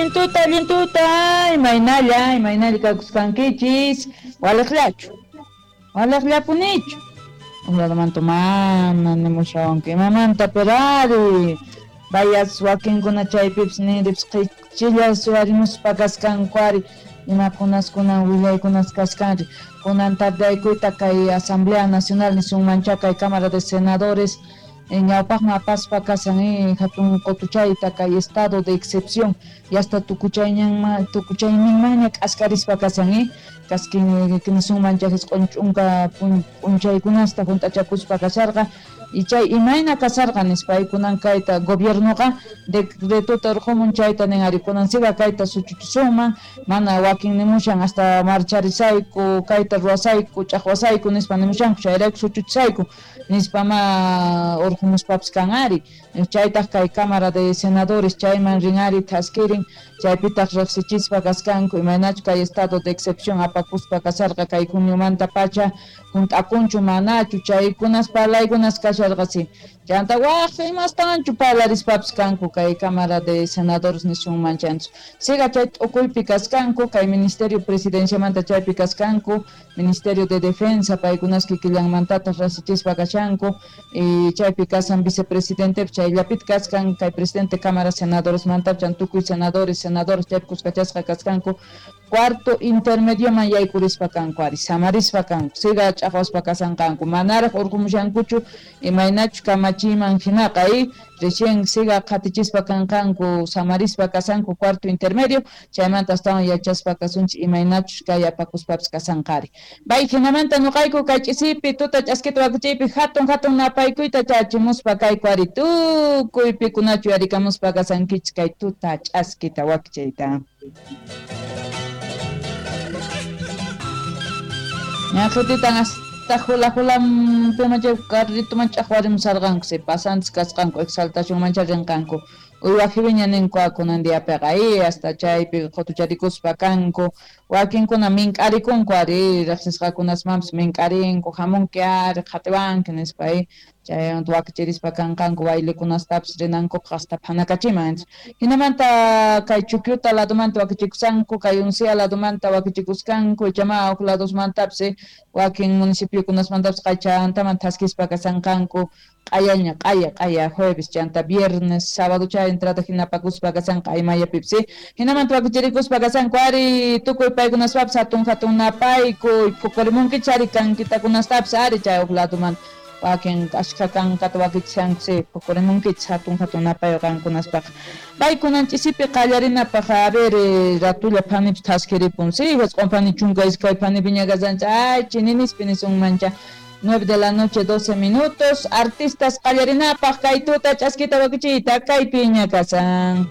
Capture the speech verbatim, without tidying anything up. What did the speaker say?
Tuta, allin tuta, imaynalla, imaynalla kakusqankichis, waliqllachu, waliqllapunichu. Uqladamanta mana nimushawanku imamanta, pero ari vayas wakinkuna chaypipis ninripis qichilla suwarimuspa kasqanku ari imakunas kunan willaykunas kasqanri. Kunan tardaykuyta kay Asamblea Nacional nisunmancha kay Cámara de Senadores ñawpaqman apaspa kasan hatun qutuchayta kay estado de excepción yasta tukuchayñanman tukuchayninmanña k'askarispa kasan kaskin nisunmancha jisq'un ch'unka p'unchaykunasta hunt'achakuspa kasharqa y chay imayna kasarqa nispa kunan kayta gobiernoqa decretota urqumun chayta nin ari kunan siga kayta suchuchisunman mana wakin nimushan hasta marcharisayku kayta ruwasayku ch'aqwasayku nispa nimushanku chayrayku suchuchisayku nispa ma urqumuspapis kan ari chaytaq kay Cámara de Senadores chayman rin ari thaskirin chaypitaq riqsichispa kasqanku imaynachu kay estado de excepción apakuspa kasarqa kay juniomanta pacha hunt'akunchu manachu chaykunas parlaykunas kasharqasi chanta waq imastanchu parlarispapis kanku kay Cámara de Senadores nisunman chanchu siga chay t'ukuypi kasqanku kay Ministerio Presidenciamanta chaypi kasqanku Ministerio de Defensa paykunas kikillanmantataq rasichispa kashanku y chaypi kasan vicepresidente chayllapit kasqan kay presidente Cámara Senadores manta chan tukuy senadores senadores chaypi kuskachasqa kasqanku cuarto intermedioman yaykurispa kanku ari samarispa kanku siga ch'aqwaspa kasanqanku manaraq urqumushankuchu imaynachu kamachiman hinaqa y recién siga qhatichispa kanqanku samarispa kasanku cuarto intermedio chaymanta astawan yachaspa kasunchik imaynachus kay apakuspapis kasanqari bay hinamanta nuqayku kay ch'isipi tuta ch'askita wakichiypi hatun hatun napaykuyta chachimuspa kayku ari tukuy pikunachu yarikamuspa kasankichik kay tuta ch'askita wakichiyta. Ñaqhutitan hasta hula hulam pimacha carritoman ch'aqwarimusarqanku si pasantes kasqanku exaltacionmancha rinqanku uywajibiña ninku kunan diapiqa y hasta chaypi qutucharikuspa kanku wakinkuna mink'arikunku ari riqsisqakunasmanpis mink'arinku hamunki ari qhatiwanki nispa chaymanta wakichirispa kanqanku bailekunastapis rinankupaq hasta phanakachiman hinamanta kay Chukyuta ladomanta wakichikusanku kay Uncia ladomanta wakichikuskanku ichama huk ladosmantapis wakin municipiokunasmantapis qaychantaman thaskispa kasanqanku q'ayaña q'aya q'aya jueves chanta viernes sábado chay entrada hinapakuspa kasanqa aymayapipis hinamanta wakichirikuspa kasanku ari tukuy paykunaspapis hatun hatun napaykuy phuqurimunkichik ari kankitakunastapis ari chay huk ladomanta wakin ashkha kankata wakichishanku si phuqurimunkichik hatun hatun napay qankunaspaq paykunan ch'isipi qallarinapaq a ver ratulla phanipis thaskiripun si jisq'un phani chunka iskay phanipiña kasanchik ay chininispi nisunmancha nueve de la noche doce minutos artistas qallarinapaq kay tuta ch'askita wakichiyta kaypiña kasan.